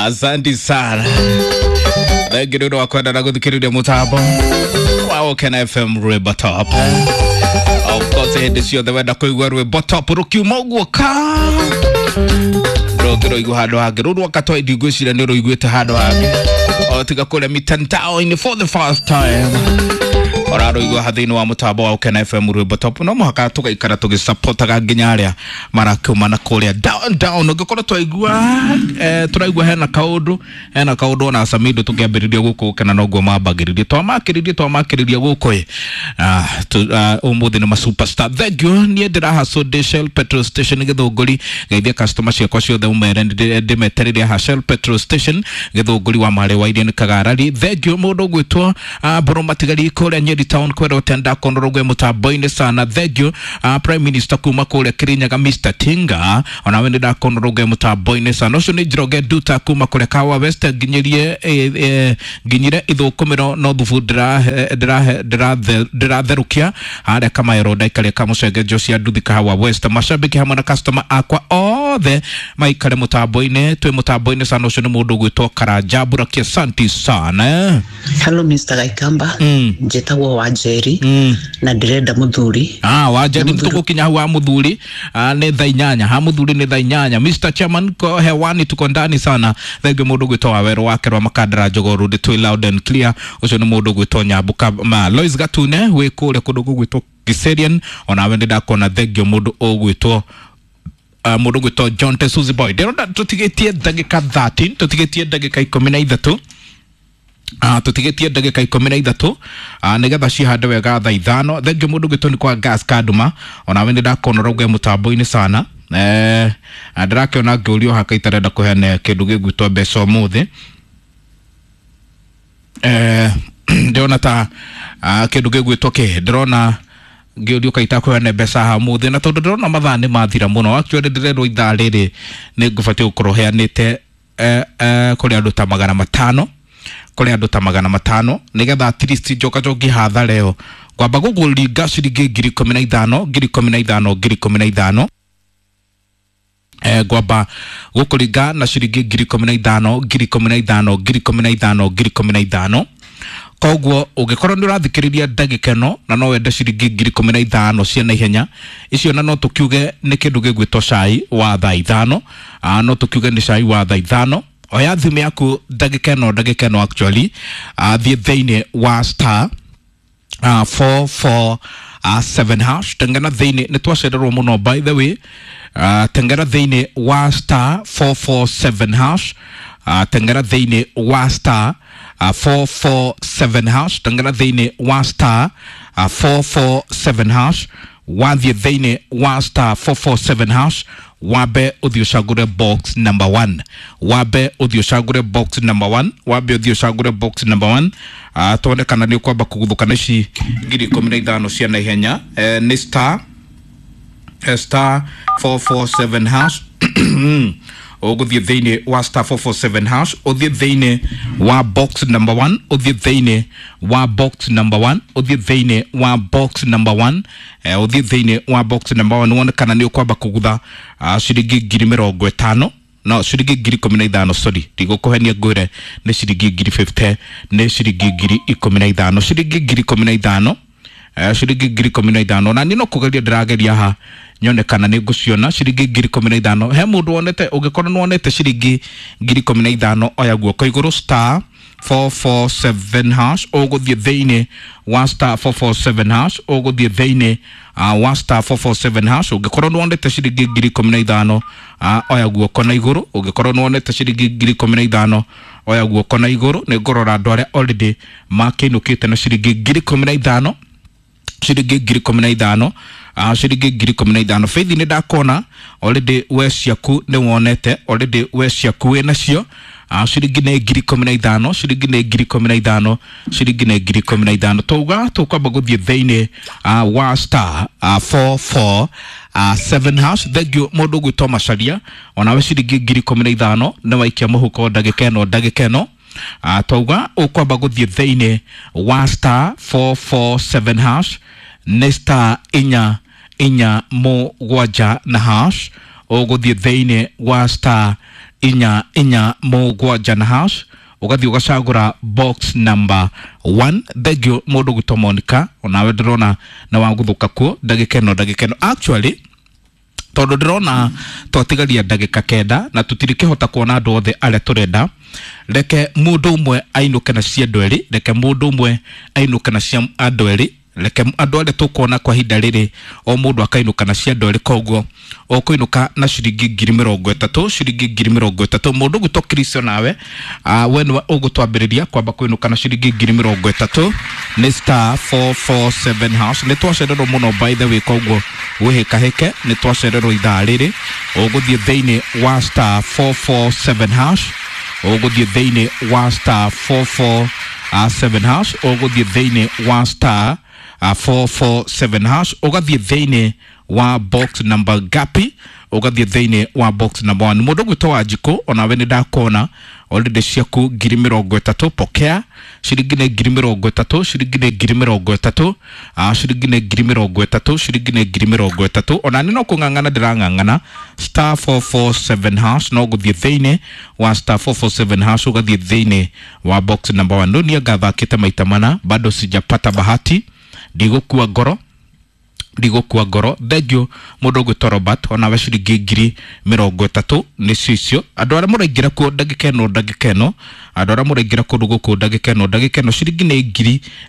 Asante sana. Thengi nĩ ũndũ wa kwenda na gũthikĩrĩria mũtambo wa Ũkena FM rwĩmbo top. Of course hĩndĩ ciothe wenda kũigua rwĩmbo top rũkiuma ũguo ka ndũngĩrũigua handũ hangĩ. Rũu rwaka twa ndigwĩciria nĩ ũrũiguĩte handũ hangĩ o tiga kũrĩa mitandao-inĩ for the first time ũrarũigua ha thĩinĩ wa mũtambo wa Ũkena FM rwĩmbo top. No mũhaka tũgaikara tũgĩsapotaga nginya arĩa marakiuma na kũrĩa down down. Ũngĩkorwo twaigua tũraigua hena kaũndũ, hena kaũndũ ona Samido tũkĩambĩrĩria gũkũ Ũkena noguo mambagĩrĩria, twamakĩrĩria twamakĩrĩria gũkũ ĩ. Ũmũthĩ nĩ ma superstar. Thank you. Niĩ ndĩrahaco ndĩ Shell petrol station Gĩthũngũri, geithia customer ciakwa ciothe ũmere ndĩmetereire haha Shell petrol station Gĩthũngũri wa Marĩ wa Iria nĩ Kagarari. Thank you. Mũndũ ũgwĩtwo Mbũrũ Matigari kũrĩa Nyeri town kwĩra ũtenda konorogwe mũtambo-inĩ sana. Thank you. Prime Minister kuma kũrĩa Kirinyaga Mr Tinga, onawe nĩ ndakonorogwe mũtambo-inĩ sana. Ũcio nĩ Njoroge Nduta kuma kũrĩa Kahawa West, nginyĩrie nginyire ithũkũmĩro no thubu ndĩratherũkia harĩa Kamaero ndaikaria kamũcenge Josia Nduthi Kahawa West. Mashabiki hamwe na customer akwa othe maikare mũtambo-inĩ, twĩ mũtambo-inĩ sana. Ũcio nĩ mũndũ ũgwĩtwo Karanja Mburakia, asante sana. Hello Mr. Gaikamba. Njĩtagwo Wanjeri na ndĩrenda mũthuri. Ah, Wanjeri, tũgũkinya hau wa mũthuri. Nĩ thaa 8 ha mũthuri nĩ thaa 8. Mr Chairman ko hewani, tuko ndani sana. Thengi mũndũ ũgwĩtwo Wawerũ wake rwa Makandara Njogoo Road, twĩ loud and clear. Ũcio nĩ mũndũ ũgwĩtwo Nyambuka ma Lois Gatune wĩ kũrĩa kũndũ gũgwĩtwo Kiserian, onawe nĩ ndakona. Thengio mũndũ ũgwĩtwo mũndũ ũgwĩtwo John Tesuzi Boy. Ndĩrona tũtigĩtie ndagĩka 13, tũtigĩtie ndagĩka 13, tũtigĩtie ndagĩka 13, nĩgetha cihande wega thaa 5. Thengio mũndũ ũgwĩtwo nĩ kwa gas Kanduma, onawe nĩ ndakona ũrauga mũtambo-inĩ sana. Ndĩrakĩona ngĩũrio haka itarenda kũheana kĩndũ gĩgwĩtwo mbeca ũmũthĩ. Ndĩrona ta kĩndũ gĩgwĩtwo kĩ, ndĩrona ngĩũrio kaita kũheana mbeca haha ũmũthĩ, na tondũ ndĩrona mathaa nĩ mathira mũno, actually ndĩrerwo ithaa rĩrĩ nĩ ngũbatiĩ gũkorwo heanĩte kũrĩ andũ ta 500, kũrĩ andũ ta 500, nĩgetha at least njoka njoki hathara ĩyo ngwamba gũkũringa ciringi 15,000, 15,000, 15,000. Ngwamba gũkũringa na ciringi 15,000, 15,000, 15,000, 15,000. Koguo ũngĩkorwo nĩ ũrathikĩrĩria ndagĩka ĩno na no wende ciringi 15,000 cia naihenya icio, na no tũkiuge nĩ kĩndũ gĩgwĩtwo cai wa thaa 5, no tũkiuge nĩ cai wa thaa 5. Oya thimũ yaku ndagĩka ĩno, ndagĩka ĩno actually, thiĩ thĩinĩ wa star 4 4 7 hash, tengera thĩinĩ, nĩ twacererwo mũno by the way. Tengera thĩinĩ wa star 447 hash, tengera thĩinĩ wa star 447 hash, tengera thĩinĩ wa star 447 hash. Wathiĩ thĩinĩ wa star 447 hash, wambe ũthiĩ ũcagũre box number 1, wambe ũthiĩ ũcagũre box number 1, wambe ũthiĩ ũcagũre box number 1, tuone kana nĩ ũkwamba kũguthũka na ici 15,000 cia naihenya. Nĩ star star 447 hash. Ũgũthiĩ thĩinĩ wa star 447 hash, ũthiĩ thĩinĩ wa box number 1, ũthiĩ thĩinĩ wa box number 1, ũthiĩ thĩinĩ wa box number 1, ũthiĩ thĩinĩ wa box number 1, wone kana nĩ ũkwamba kũgutha ciringi 50,000, no ciringi 15,000. Sorry, ndigũkũhenia ngwĩre nĩ ciringi 50,000, nĩ ciringi 15,000, ciringi 15,000, ciringi 15,000. Na niĩ no kũgeria ndĩrageria haha nyone kana nĩ ngũciona ciringi 15,000. He mũndũ wonete? Ũngĩkorwo nĩ wonete ciringi 15,000, oya guoko igũrũ. Star 447 hash, ũgũthiĩ thĩinĩ wa star 447 hash, ũgũthiĩ thĩinĩ wa star 447 hash. Ũngĩkorwo nĩ wonete ciringi 15,000, oya guoko na igũrũ. Ũngĩkorwo nĩ wonete ciringi 15,000, oya guoko na igũrũ. Nĩ ngũrora andũ arĩa already makĩinũkĩte na ciringi 15,000, ciringi 15,000, ciringi 15,000. Faith, nĩ ndakona already we ciaku nĩ wonete, already we ciaku wĩ nacio. Ciringi nĩ 15,000, ciringi nĩ 15,000, ciringi nĩ 15,000. Twauga tũkwamba gũthiĩ thĩinĩ wa star 4 4 7 hash. Thank you mũndũ ũgwĩtwo Macaria, onawe ciringi 15,000 nĩ waikia mũhuko ndagĩka ĩno, ndagĩka ĩno. Twauga ũkwamba gũthiĩ thĩinĩ wa star 447 hash, nĩ star 4 4 7 na hash. Ũgũthiĩ thĩinĩ wa star inya inya mũgwanja na hash, ũgathiĩ ũgacagũra box number 1. Thengio mũndũ gwĩtwo Monica, onawe ndĩrona nĩ wagũthũka kuo ndagĩka ĩno, ndagĩka ĩno actually tondũ ndĩrona twatigaria ndagĩka 9 na tũtirĩkĩhota kuona andũ othe arĩa tũrenda. Reke mũndũ ũmwe ainũke na cia andũ erĩ, reke mũndũ ũmwe ainũke na cia andũ erĩ, reke andũ arĩa tũkuona kwa ihinda rĩrĩ o mũndũ akainũka na cia andũ erĩ. Koguo ũkũinũka na ciringi 30,000, ciringi 30,000. Mũndũ gwĩtwo Kristo nawe, we nĩwe ũgũtwambĩrĩria kwamba kũinũka na ciringi 30,000 nĩ star 447 hash. Nĩ twacererwo mũno by the way, koguo wĩhĩkahĩke, nĩ twacererwo ithaa rĩrĩ. Ũgũthiĩ thĩinĩ wa star 447 hash, ũgũthiĩ thĩinĩ wa star 447 hash, ũgũthiĩ thĩinĩ wa star 447 hash, ũgathiĩ thĩinĩ wa box number gapi, ũgathiĩ thĩinĩ wa box number 1. Mũndũ gwĩtwo Wanjikũ, onawe nĩ ndakuona already ciaku 30,000. Pokea ciringi nĩ 30,000, ciringi nĩ 30,000, ciringi nĩ 30,000, ciringi nĩ 30,000. Ona nĩ no kũng'ang'ana ndĩrang'ang'ana star 447 hash, no gũthiĩ thĩinĩ wa star 447 hash, ũgathiĩ thĩinĩ wa box number 1. Niĩ ngathakĩte maita mana, bado sijapata bahati, ndigũkua ngoro, ndigũkua ngoro. Thengio mũndũ ũgwĩtwo Robert, onawe ciringi 30,000 nĩcio icio. Andũ arĩa mũraingĩra kuo ndagĩka ĩno, ndagĩka ĩno, andũ arĩa mũraingĩra kũndũ gũkũ ndagĩka ĩno, ndagĩka ĩno, ciringi nĩ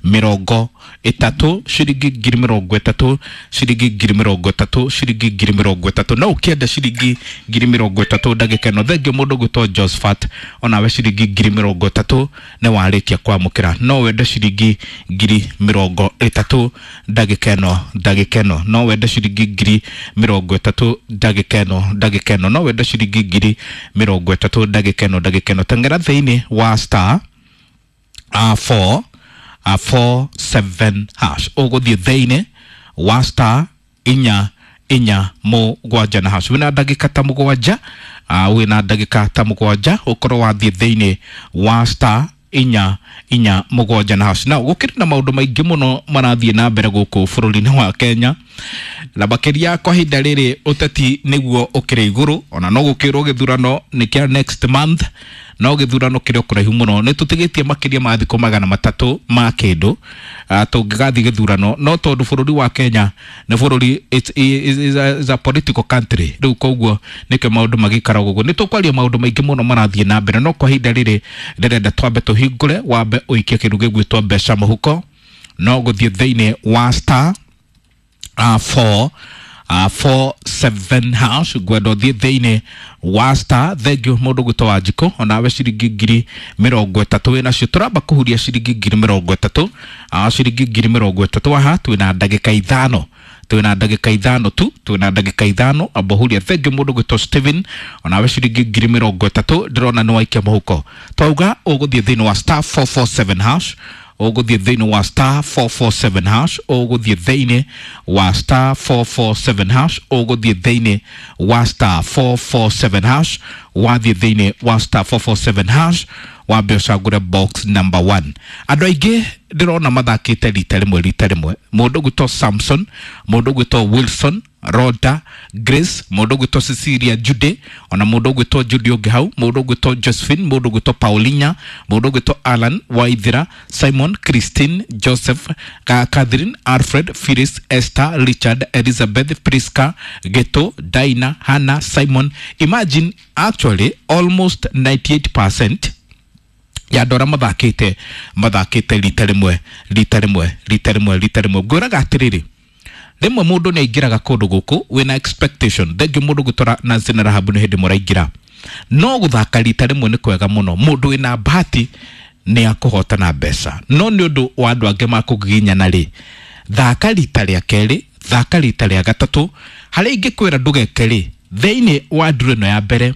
30,000, ciringi 30,000, ciringi 30,000, ciringi 30,000. No ũkĩenda ciringi 30,000 ndagĩka ĩno. Thengio mũndũ ũgwĩtwo Josephat, onawe ciringi 30,000 nĩ warĩkia kwamũkĩra. No wende ciringi 30,000 ndagĩka ĩno, ndagĩka ĩno, no wende ciringi 30,000 ndagĩka ĩno, ndagĩka ĩno, no wende ciringi 30,000 ndagĩka ĩno, ndagĩka ĩno. Teng'era thĩinĩ wa star 4 4 7 hash, ũgũthiĩ thĩinĩ wa star inya inya mũgwanja na hash. Wĩna ndagĩka ta 7, wĩna ndagĩka ta 7 ũkorwo wathiĩ thĩinĩ wa star inya inya mũgwanja na hash. Na gũkĩrĩ na maũndũ maingĩ mũno marathiĩ na mbere gũkũ bũrũri-inĩ wa Kenya, na makĩria kwa ihinda rĩrĩ ũteti nĩguo ũkĩrĩ igũrũ. Ona no gũkĩrwo gĩthurano nĩ kĩa next month, no gĩthurano kĩrĩ o kũraihu mũno, nĩ tũtigĩtie makĩria ma thikũ 300 ma kĩndũ tũngĩgathiĩ gĩthurano. No tondũ bũrũri wa Kenya nĩ bũrũri, is a political country, rĩu koguo nĩkĩo maũndũ magĩikaraga ũguo. Nĩ tũkwaria maũndũ maingĩ mũno marathiĩ na mbere, no kwa ihinda rĩrĩ ndĩrenda twambe tũhingũre, wambe ũikie kĩndũ gĩgwĩtwo mbeca mũhuko. No gũthiĩ thĩinĩ wa star 4 4 7 hash, ngwenda ũthiĩ thĩinĩ wa star. Thengio mũndũ gwĩtwo Wanjikũ, onawe ciringi 30,000 wĩnacio. Tũramba kũhuria ciringi 30,000, ciringi 30,000 haha. Twĩna ndagĩka 5, twĩna ndagĩka 5 tu, twĩna ndagĩka 5 amba huria. Thengio mũndũ gwĩtwo Steven, onawe ciringi 30,000 ndĩrona nĩ waikia mũhuko. Twauga ũgũthiĩ thĩinĩ wa star 447 hash, ũgũthiĩ thĩinĩ wa star 447 hash, ũgũthiĩ thĩinĩ wa star 447 hash, ũgũthiĩ thĩinĩ wa star 447 hash. Wathiĩ thĩinĩ wa star 447 hash, wambe ũcagũre box number 1. Andũ aingĩ ndĩrona mathakĩte rita rĩmwe, rita rĩmwe. Mũndũ gwĩtwo Samson, mũndũ gwĩtwo Wilson, Rhoda, Grace, mũndũ gwĩtwo Cecilia Jude, ona mũndũ gwĩtwo Jude ũngĩ hau, mũndũ gwĩtwo Josephine, mũndũ gwĩtwo Paulina, mũndũ gwĩtwo Alan Waithira, Simon, Christine, Joseph, Catherine, Alfred, Phyllis, Esther, Richard, Elizabeth, Priska, Geto, Dinah, Hannah, Simon. Imagine actually almost 98% ya andũ arĩa mathakĩte mathakĩte rita rĩmwe, rita rĩmwe, rita rĩmwe, rita rĩmwe. Ngwĩraga atĩrĩrĩ, rĩmwe mũndũ nĩ aingĩraga kũndũ gũkũ wĩna expectation. Thengio mũndũ gwĩtwo Nancy na Rahabu, nĩ hĩndĩ mũraingĩra. No gũthaka rita rĩmwe nĩ kwega mũno. Mũndũ wĩna bahati nĩ akũhotana mbeca, no nĩ ũndũ wa andũ angĩ makũgiginyana rĩ, thaka rita rĩa kerĩ, thaka rita rĩa gatatũ. Harĩa ingĩkwĩra ndũgeke rĩ, thĩinĩ wa nduru ĩno ya mbere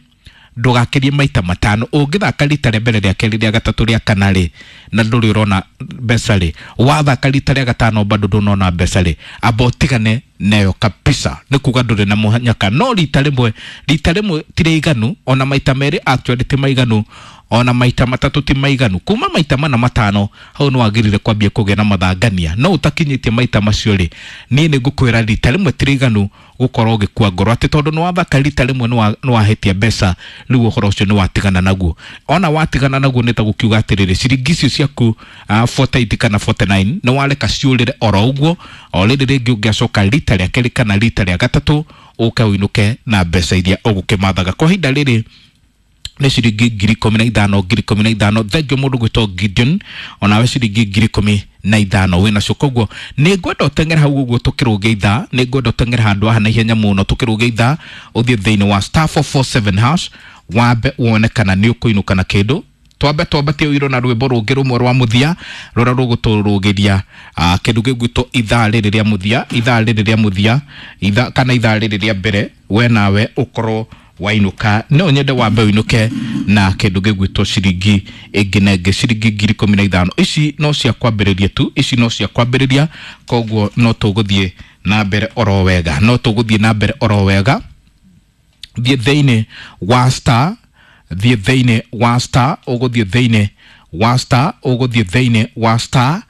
ndũgakĩrie maita 5. Ũngĩthaka rita rĩa mbere, rĩa kerĩ, rĩa gatatũ, rĩa kana rĩ, na ndũrĩ ũrona mbeca rĩ, wathaka rita rĩa gatano bado ndũnona mbeca rĩ, amba ũtigane nayo kabisa, nĩ kuga ndũrĩ na mũnyaka. No rita rĩmwe, rita rĩmwe ti rĩiganu, ona maita merĩ actually ti maiganu. Ona maita matatũ ti maiganu. Kuma maita mana matano hau nĩ wagĩrĩire kwambia kũgĩa na mathangania. No ũtakinyĩtie maita macio rĩ, niĩ nĩ ngũkwĩra rita rĩmwe ti rĩiganu gũkorwo ũgĩkua ngoro atĩ tondũ nĩ wathaka rita rĩmwe nĩ wahĩtia mbeca, rĩu ũhoro ũcio nĩ watigana naguo. Ona watigana naguo nĩ ta gũkiuga atĩrĩrĩ, ciringi icio ciaku 48 kana 49 nĩ wareka ciũrĩre oro ũguo. O rĩrĩ rĩngĩ ũngĩacoka rita rĩa kerĩ kana rita rĩa gatatũ ũke ũinũke na mbeca iria ũgũkĩmathaga. Kwa ihinda rĩrĩ nĩ ciringi 15,000, 15,000. Thengiũ mũndũ gwĩtwo Gideon, onawe ciringi 15,000 wĩnacio. Koguo nĩ ngwenda ũteng'ere hau ũguo tũkĩrũge ithaa, nĩ ngwenda ũteng'ere handũ haha na ihenya mũno tũkĩrũge ithaa, ũthiĩ thĩinĩ wa *447 hash wambe wone kana nĩ ũkũinũka na kĩndũ. Twambe twambatie ũiro na rwĩmbo rũngĩ rũmwe rwa mũthia rũrĩa rũgũtũrũgĩria kĩndũ gĩgwĩtwo ithaa rĩrĩ rĩa mũthia, ithaa rĩrĩ rĩa mũthia, ithaa kana ithaa rĩrĩ rĩa mbere, we nawe ũkorwo wainũka. No nyende wambe ũinũke na kĩndũ gĩgwĩtwo ciringi ĩngĩ na ĩngĩ, ciringi 15,000. Ici no cia kwambĩrĩria tu, ici no cia kwambĩrĩria, koguo no tũgũthiĩ na mbere oro wega, no tũgũthiĩ na mbere oro wega. Thiĩ thĩinĩ wa star, thiĩ thĩinĩ wa star, ũgũthiĩ thĩinĩ wa star, ũgũthiĩ thĩinĩ wa star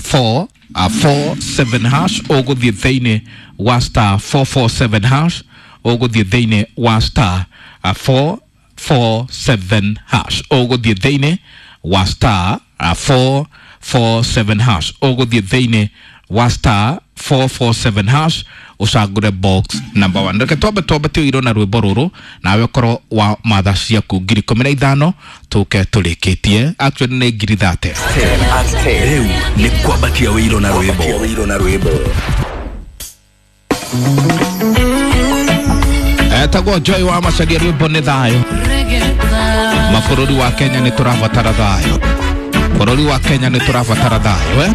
4 47 hash, ũgũthiĩ thĩinĩ wa star 447 hash, ũgũthiĩ thĩinĩ wa star 447 hash, ũgũthiĩ thĩinĩ wa star 447 hash, ũgũthiĩ thĩinĩ wa star 447 hash ũcagũre box number 1. Reke twambe twambatie ũiro na rwĩmbo rũrũ, nawe ũkorwo wa matha ciaku 15,000 tũke tũrĩkĩtie. Actually nĩ 30,000. Rĩu nĩ kwambatia wĩiro na rwĩmbo. Etagwo Joy wa Macharia, rwĩmbo nĩ thayũ. Mabũrũri wa Kenya nĩ tũrabatara thayũ, bũrũri wa Kenya nĩ tũrabatara thayũ.